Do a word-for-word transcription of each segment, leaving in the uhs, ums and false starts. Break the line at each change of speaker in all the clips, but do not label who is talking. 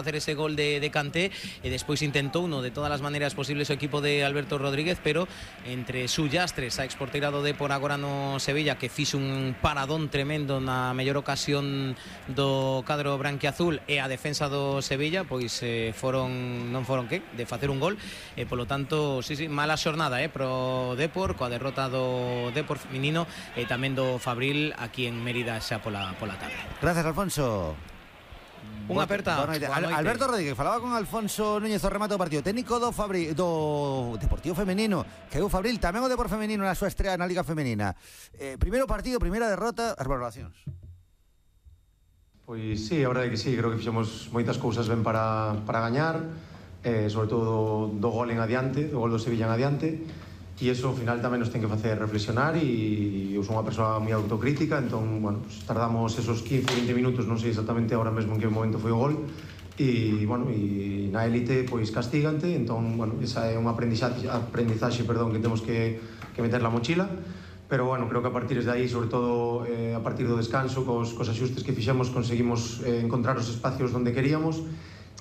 hacer ese gol de, de Kanté e despois intentou uno de todas as maneiras posibles o equipo de Alberto Rodríguez, pero entre Sullastres, a exporteira do Depor agora no Sevilla, que fixo un paradón tremendo na mellor ocasión do cadro branquiazul, e a defensa do Sevilla, pois eh, foron non foron que de facer un gol, e polo tanto, sí, sí, mala xornada eh, pro Depor, coa derrota do Depor feminino e tamén do Fabril aquí en Mérida xa pola, pola tarde.
Gracias, Alfonso.
Unha aperta.
Al, Alberto Rodríguez falaba con Alfonso Núñez o remate do partido técnico do Fabril, do Deportivo Femenino, que é o Fabril, tamén o Depor Femenino na súa estrea na Liga Femenina. Eh, primeiro partido, primeira derrota, as valoracións.
Pois sí, a verdade é que sí, creo que fixemos moitas cousas ben para, para gañar, eh, sobre todo do, do gol en adiante, do gol do Sevilla en adiante, e iso ao final tamén nos ten que facer reflexionar, e eu sou unha persoa moi autocrítica, entón, bueno, pues, tardamos esos quince, vinte minutos, non sei exactamente agora mesmo en que momento foi o gol, e, bueno, e na élite, pois, castígante, entón, bueno, esa é unha aprendizaxe, aprendizaxe, perdón, que temos que, que meter na mochila, pero, bueno, creo que a partir de aí, sobre todo eh, a partir do descanso, cos, cos axustes que fixemos, conseguimos eh, encontrar os espacios onde queríamos,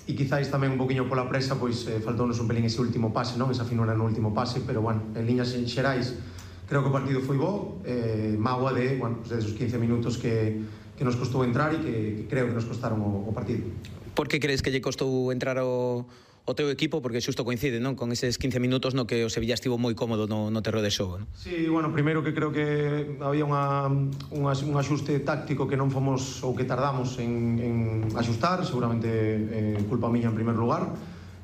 e quizáis tamén un poquinho pola presa, pois eh, faltounos un pelín ese último pase, non? Esa finura no último pase, pero, bueno, en liñas xerais creo que o partido foi bo, eh, mágoa de, bueno, pues de esos quince minutos que, que nos costou entrar e que, que creo que nos costaron o, o partido.
Por que crees que lle costou entrar o, o teu equipo? Porque xusto coincide, non? Con eses quince minutos no que o Sevilla estivo moi cómodo no, no terreo de xogo, non?
Sí, bueno, primeiro que creo que había unha, unha, un axuste táctico que non fomos ou que tardamos en, en axustar, seguramente eh, culpa miña en primer lugar,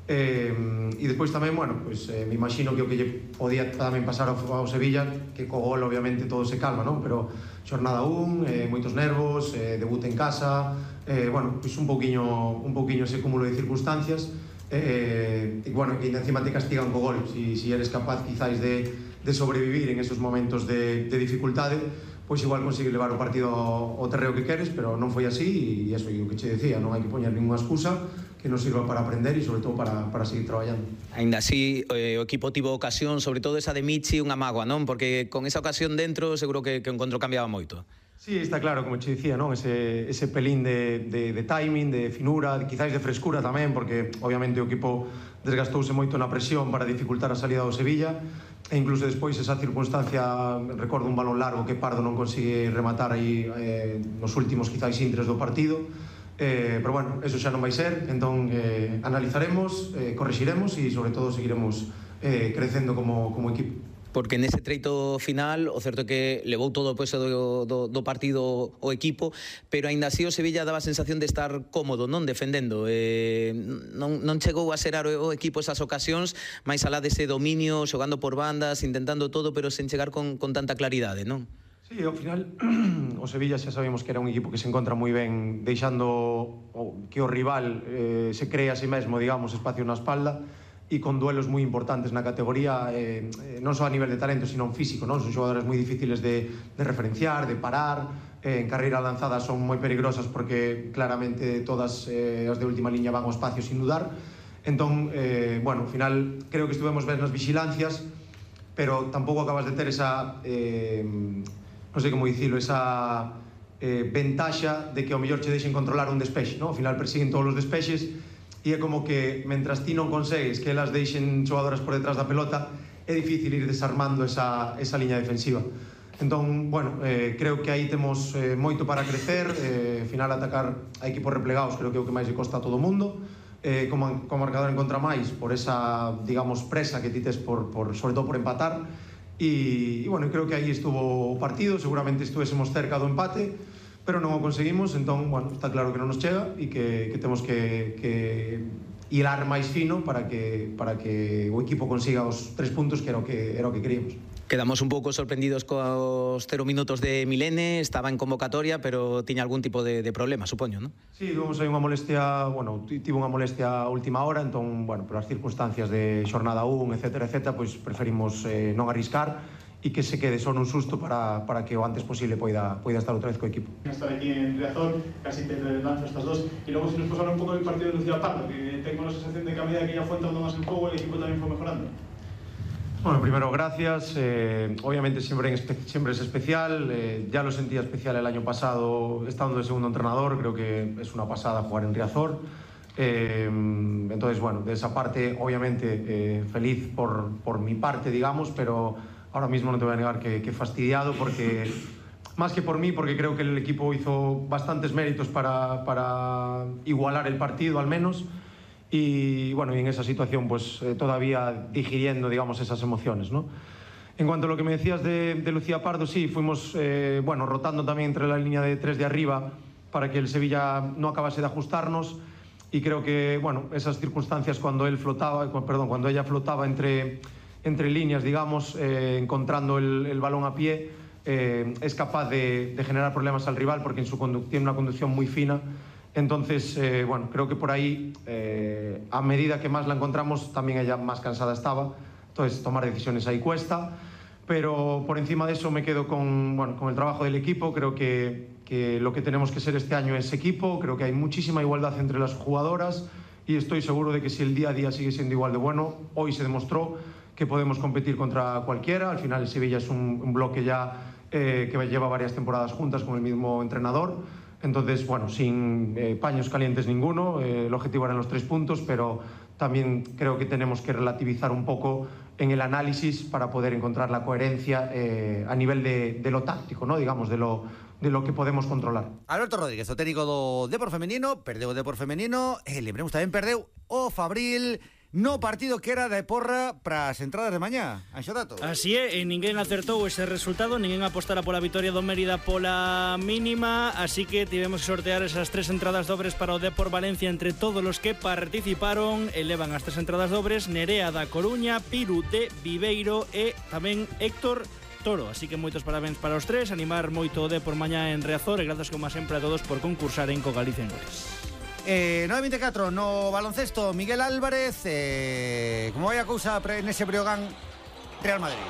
eh, e despois tamén, bueno, pues, eh, me imagino que o que lle podía tamén pasar ao, ao Sevilla, que co gol obviamente todo se calma, non? Pero xornada un, eh, moitos nervos, eh, debut en casa, eh, bueno, pues un pouquiño, un pouquiño ese cúmulo de circunstancias. Eh, e bueno, que encima te castigan co gol, si, si eres capaz quizáis de, de sobrevivir en esos momentos de, de dificultade, pois igual consigues levar o partido ao, ao terreo que queres, pero non foi así, e eso é o que che decía, non hai que poñer ninguna excusa, que nos sirva para aprender e sobre todo para, para seguir traballando.
Ainda así, eh, o equipo tivo ocasión, sobre todo esa de Michi, unha mágoa, non? Porque con esa ocasión dentro seguro que, que o encontro cambiaba moito.
Sí, está claro, como che dicía, non? Ese, ese pelín de, de, de timing, de finura, de, quizáis de frescura tamén, porque obviamente o equipo desgastouse moito na presión para dificultar a salida do Sevilla, e incluso despois esa circunstancia, recordo un balón largo que Pardo non consigue rematar aí eh, nos últimos quizáis intres do partido, eh, pero bueno, eso xa non vai ser, entón eh, analizaremos, eh, corrixiremos e sobre todo seguiremos eh, crecendo como, como equipo.
Porque nese treito final o certo é que levou todo o peso do, do, do partido o equipo, pero aínda así o Sevilla daba a sensación de estar cómodo, non defendendo, eh, non, non chegou a ser o equipo esas ocasións, máis alá dese dominio, xogando por bandas, intentando todo, pero sen chegar con, con tanta claridade, non?
Sí, ao final o Sevilla xa sabemos que era un equipo que se encontra moi ben deixando que o rival eh, se cree a si mesmo, digamos, espacio na espalda, e con duelos moi importantes na categoría, eh, non só a nivel de talento, sino en físico, non? Son xogadores moi difíciles de, de referenciar, de parar, eh, en carreira lanzada son moi peligrosas porque claramente todas eh, as de última liña van ao espacio sin dudar. Entón, eh, bueno, ao final creo que estuvemos ben nas vigilancias, pero tampouco acabas de ter esa, eh, non sei como dicilo, esa eh, ventaxa de que ao mellor che deixen controlar un despexe, non? Ao final persiguen todos os despexes, e é como que, mentras ti non consegues que elas deixen xogadoras por detrás da pelota, é difícil ir desarmando esa, esa liña defensiva. Entón, bueno, eh, creo que aí temos eh, moito para crecer, eh, final atacar a equipos replegados creo que é o que máis lle costa a todo o mundo, eh, como, como marcador en contra máis, por esa, digamos, presa que ti tes por, por, sobre todo por empatar, e, e bueno, creo que aí estuvo o partido, seguramente estuvésemos cerca do empate, pero non o conseguimos, entón, bueno, está claro que non nos chega e que, que temos que, que hilar máis fino para que, para que o equipo consiga os tres puntos que era o que, era o que queríamos.
Quedamos un pouco sorprendidos cos cero minutos de Milene, estaba en convocatoria, pero tiña algún tipo de, de problema, supoño, non?
Sí, tuvemos aí unha molestia, bueno, tivo unha molestia a última hora, entón, bueno, por as circunstancias de xornada un, etcétera, etcétera, pois preferimos eh, non arriscar e que se quede só nun susto para, para que o antes posible poida, poida estar outra vez co equipo.
Estar aquí en Riazor, casi te lanzo estas dos, y luego si nos puedes hablar un poco del partido de Lucía Pardo, que tengo la sensación de que a medida que ya fue entrando más en juego, el equipo también fue mejorando.
Bueno, primero gracias, eh, obviamente siempre, en espe siempre es especial, eh, ya lo sentía especial el año pasado estando de segundo entrenador, creo que es una pasada jugar en Riazor. Eh, entonces, bueno, de esa parte, obviamente, eh, feliz por, por mi parte, digamos, pero ahora mismo no te voy a negar que, que fastidiado, porque más que por mí, porque creo que el equipo hizo bastantes méritos para, para igualar el partido, al menos, y bueno, y en esa situación, pues eh, todavía digiriendo, digamos, esas emociones, ¿no? En cuanto a lo que me decías de, de Lucía Pardo, sí, fuimos, eh, bueno, rotando también entre la línea de tres de arriba para que el Sevilla no acabase de ajustarnos. Y creo que, bueno, esas circunstancias cuando él flotaba, perdón, cuando ella flotaba entre, entre líneas, digamos, eh, encontrando el, el balón a pie, eh, es capaz de, de generar problemas al rival porque en su tiene una conducción muy fina. Entonces, eh, bueno, creo que por ahí, eh, a medida que más la encontramos, también ella más cansada estaba. Entonces, tomar decisiones ahí cuesta. Pero por encima de eso me quedo con, bueno, con el trabajo del equipo. Creo que, que lo que tenemos que ser este año es equipo. Creo que hay muchísima igualdad entre las jugadoras y estoy seguro de que si el día a día sigue siendo igual de bueno, hoy se demostró que podemos competir contra cualquiera. Al final el Sevilla es un, un bloque ya eh, que lleva varias temporadas juntas con el mismo entrenador. Entonces, bueno, sin eh, paños calientes ninguno, eh, el objetivo eran los tres puntos, pero también creo que tenemos que relativizar un poco en el análisis para poder encontrar la coherencia eh, a nivel de, de lo táctico, ¿no? Digamos, de lo, de lo que podemos controlar.
Alberto Rodríguez, o técnico do Depor femenino, perdeu o Depor femenino, e lembremos tamén perdeu o Fabril no partido que era de porra para as entradas de mañá. Anxo dato.
Así é, e ninguén acertou ese resultado, ninguén apostara pola vitoria do Mérida pola mínima, así que tivemos que sortear esas tres entradas dobres para o Depor Valencia entre todos os que participaron. Elevan as tres entradas dobres Nerea da Coruña, Piru de Viveiro e tamén Héctor Toro, así que moitos parabéns para os tres, animar moito o Depor mañá en Riazor e grazas como sempre a todos por concursar en Co Galicia en Goles.
Eh, nove veinticuatro no baloncesto, Miguel Álvarez, eh, como vai a cousa nese Breogán Real Madrid?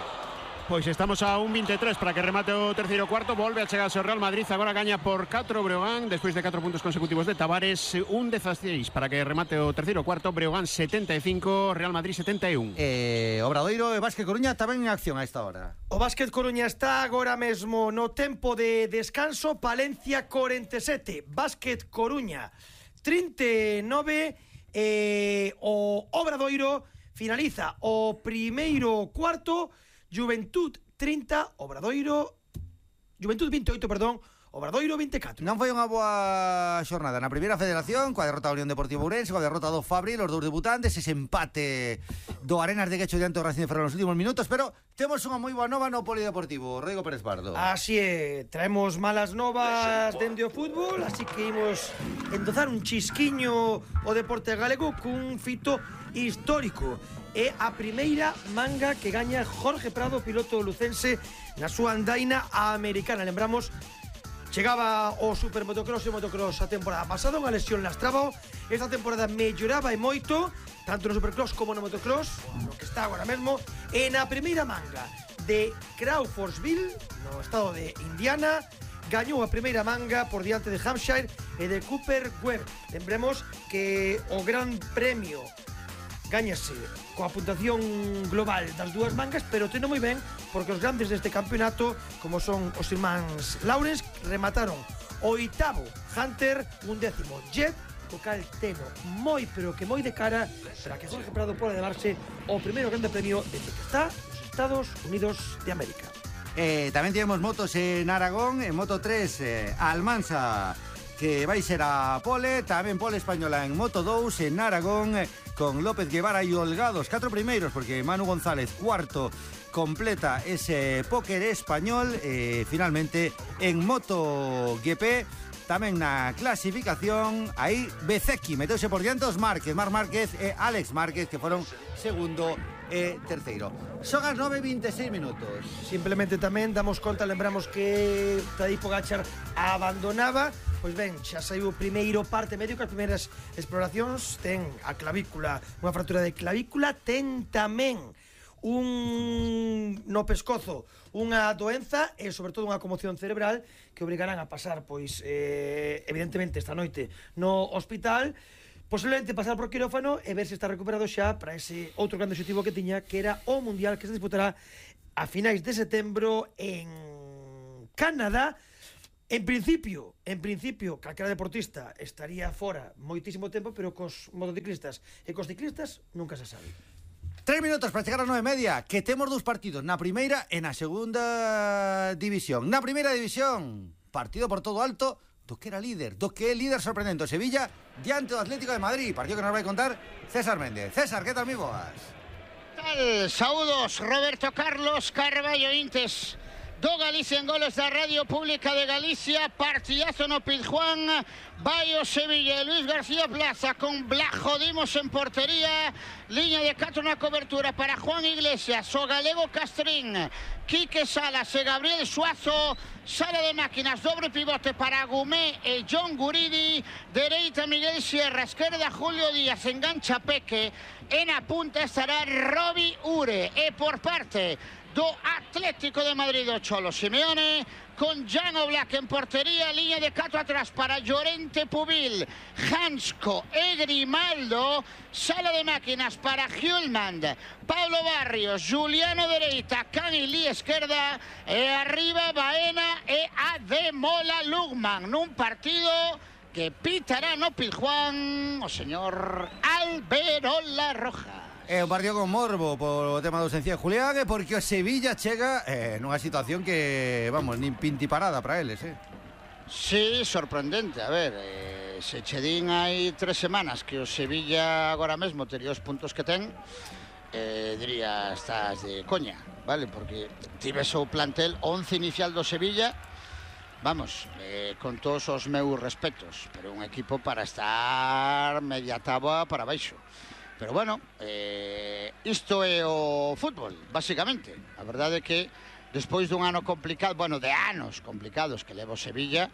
Pois estamos a un veintitrés para que remate o terceiro cuarto. Volve a chegarse o Real Madrid, agora gaña por catro Breogán despois de catro puntos consecutivos de Tavares. Un dieciséis para que remate o terceiro cuarto. Breogán setenta e cinco, Real Madrid setenta e un.
eh, Obradoiro e Básquet Coruña tamén en acción a esta hora.
O Básquet Coruña está agora mesmo no tempo de descanso. Palencia cuarenta e sete, Básquet Coruña trinta e nove. eh, O Obradoiro finaliza o primeiro cuarto. Juventud trinta, Obradoiro Juventud veintiocho, perdón, Obradoiro veinticuatro.
Non foi unha boa xornada na primeira federación, coa derrota da Unión Deportiva Ourense, coa derrota do Fabril, os dous debutantes, ese empate do Arenas de Guecho diante do Racing de Ferrol nos últimos minutos, pero temos unha moi boa nova no Polideportivo. Rodrigo Pérez Pardo.
Así é, traemos malas novas dende o fútbol, así que imos endozar un chisquiño o deporte galego cun fito histórico. É a primeira manga que gaña Jorge Prado, piloto lucense, na súa andaina americana. Lembramos, chegaba o supermotocross e o motocross a temporada pasada, unha lesión lastraba. Esta temporada melloraba e moito, tanto no supercross como no motocross, no que está agora mesmo. E na primeira manga de Crawfordsville, no estado de Indiana, gañou a primeira manga por diante de Hampshire e de Cooper Webb. Lembremos que o Gran Premio gañase coa puntuación global das dúas mangas, pero teno moi ben porque os grandes deste campeonato, como son os irmáns Lawrence, remataron oitavo Hunter, un décimo Jet, o cal teno moi, pero que moi de cara para que Jorge Prado poda levarse o primeiro grande premio desde que está nos Estados Unidos de América.
Eh, tamén tivemos motos en Aragón, en Moto tres, eh, Almansa, que vai ser a pole, tamén pole española en Moto dous en Aragón, con López Guevara e Holgados, catro primeiros, porque Manu González, cuarto, completa ese póker español. E finalmente en MotoGP, tamén na clasificación, aí Bezecchi meteuse por diante os Márquez, Marc Márquez e Alex Márquez, que foron segundo e terceiro. Son as nove e veintiséis minutos.
Simplemente tamén damos conta, lembramos que Tadej Pogačar abandonaba. Pois ben, xa saiu o primeiro parte medio, que as primeiras exploracións ten a clavícula, unha fractura de clavícula, ten tamén un no pescozo unha doenza e sobre todo unha conmoción cerebral que obrigarán a pasar, pois, eh, evidentemente esta noite no hospital, posiblemente pasar por quirófano e ver se está recuperado xa para ese outro grande objetivo que tiña, que era o Mundial que se disputará a finais de setembro en Canadá. En principio, en principio, calquera deportista estaría fora moitísimo tempo, pero cos motociclistas e cos ciclistas nunca se sabe.
Tres minutos para chegar ás nove e media, que temos dous partidos, na primeira e na segunda división. Na primeira división, partido por todo alto do que era líder, do que é líder sorprendente, o Sevilla diante do Atlético de Madrid, partido que nos vai contar César Méndez. César, que tal, mi boas?
Tal, saúdos, Roberto Carlos Carballo Intes do Galicia en Goles da Radio Pública de Galicia, partidazo no Pizjuán, vai o Sevilla, Luis García Plaza con Blajo Dimos en portería, liña de catro na cobertura para Juan Iglesias, o galego Castrín, Quique Salas e Gabriel Suazo, sala de máquinas, dobre pivote para Gumé e John Guridi, dereita Miguel Sierra, esquerda Julio Díaz, engancha Peque, e na punta estará Robi Ure, e por parte do Atlético de Madrid do Cholo Simeone, con Jan Oblak en portería, línea de catro atrás para Llorente Pubil, Hansko e Grimaldo, sala de máquinas para Hjulmand, Pablo Barrios, Juliano dereita, Canilí esquerda, e arriba Baena e Ademola Lugman, nun partido que pitará no Pizjuán o señor Alberola Roja.
É un partido con morbo por o tema do ausencia de Julián e porque o Sevilla chega eh, nunha situación que, vamos, nin pintiparada para eles, eh?
Sí, sorprendente. A ver, eh, se che din hai tres semanas que o Sevilla agora mesmo tería os puntos que ten, eh, diría, estás de coña, vale? Porque tives o plantel once inicial do Sevilla, vamos, eh, con todos os meus respetos, pero un equipo para estar media táboa para baixo. Pero bueno, eh, isto é o fútbol, basicamente. A verdade é que despois dun ano complicado, bueno, de anos complicados que leva o Sevilla,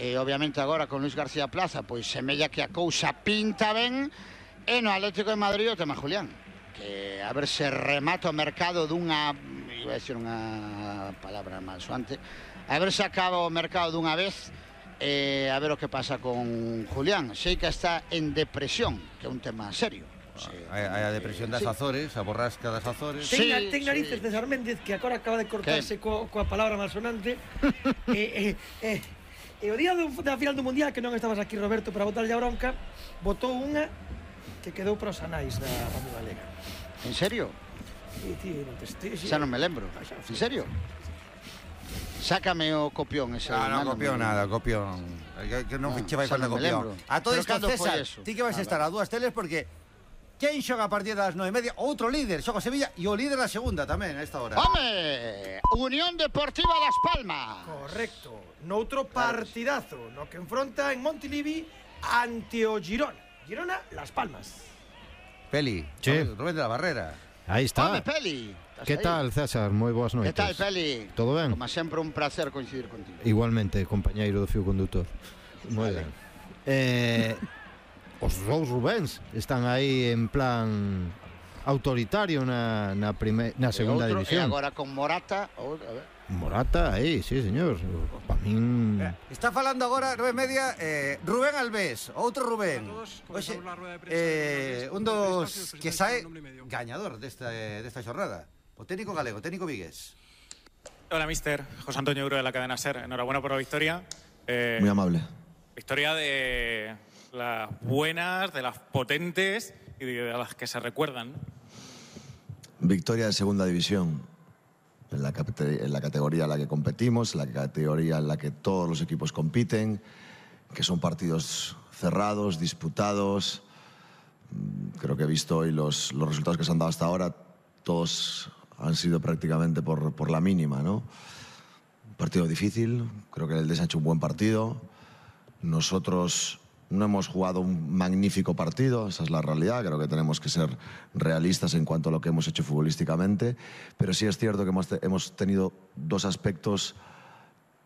e obviamente agora con Luis García Plaza, pois semella que a cousa pinta ben, e no Atlético de Madrid o tema Julián, que a ver se remata o mercado dunha, iba a decir unha palabra mal soante, a ver se acaba o mercado dunha vez, e a ver o que pasa con Julián. Sei que está en depresión, que é un tema serio.
Sí, hai, hai a depresión das sí. Azores, a borrasca das Azores.
Ten,
sí,
ten narices
sí.
César Méndez, que agora acaba de cortarse co, coa palabra malsonante. e, e, e, e o día do, da final do Mundial, que non estabas aquí, Roberto, para botarlle a bronca, botou unha que quedou para os anais da Radio Galega.
En serio?
Sí, tío, non te estés...
Xa non me lembro. En serio? Sácame o copión ese.
Ah, no, no copión nada, copión. Que, que non no, che vai falta copión. A todo isto, César, ti que vais a estar a dúas teles porque quen xoga a partir das nove e media? Outro líder, xoga Sevilla e o líder da segunda tamén a esta hora.
¡Home! Unión Deportiva Las Palmas.
Correcto. Noutro partidazo, no que enfronta en Montilivi ante o Girona. Girona, Las Palmas.
Peli,
sí.
Rubén de la Barrera.
Aí está.
¡Home, Peli!
Que tal, César? Moi boas noites.
Que tal, Peli?
Todo ben?
Como sempre, un placer coincidir contigo.
Igualmente, compañeiro do fio condutor. Moi
vale.
ben. Eh... Os dous Rubéns están aí en plan autoritario na, na, prime, na segunda
outro,
división.
E agora con Morata, ou, a ver.
Morata, aí, sí, señor. Pa min...
Está falando agora, nove e media, eh, Rubén Alves, outro Rubén. Oxe, eh, un dos que sae gañador desta, desta xornada. O técnico galego, técnico vigués.
Hola, mister. José Antonio Euro de la cadena SER. Enhorabuena por la victoria. Eh,
Muy amable.
Victoria de las buenas, de las potentes y de las que se recuerdan.
Victoria de segunda división, en la, en la categoría en la que competimos, en la categoría en la que todos los equipos compiten, que son partidos cerrados, disputados. Creo que he visto hoy los, los resultados que se han dado hasta ahora, todos han sido prácticamente por, por la mínima, ¿no? Un partido difícil, creo que el Eldes ha hecho un buen partido. Nosotros no hemos jugado un magnífico partido, esa es la realidad, creo que tenemos que ser realistas en cuanto a lo que hemos hecho futbolísticamente, pero sí es cierto que hemos, te hemos tenido dos aspectos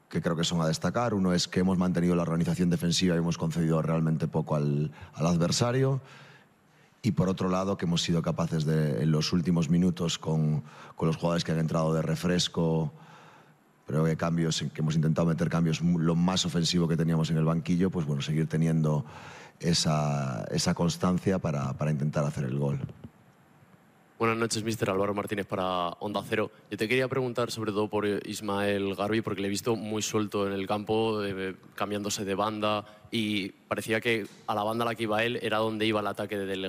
que creo que son a destacar. Uno es que hemos mantenido la organización defensiva y hemos concedido realmente poco al, al adversario, y por otro lado que hemos sido capaces de, en los últimos minutos, con, con los jugadores que han entrado de refresco, creo que cambios, que hemos intentado meter cambios lo más ofensivo que teníamos en el banquillo, pues bueno, seguir teniendo esa, esa constancia para, para intentar hacer el gol.
Buenas noches, mister Álvaro Martínez para Onda Cero. Yo te quería preguntar sobre todo por Ismael Garbi, porque le he visto muy suelto en el campo, eh, cambiándose de banda, y parecía que a la banda a la que iba él era donde iba el ataque del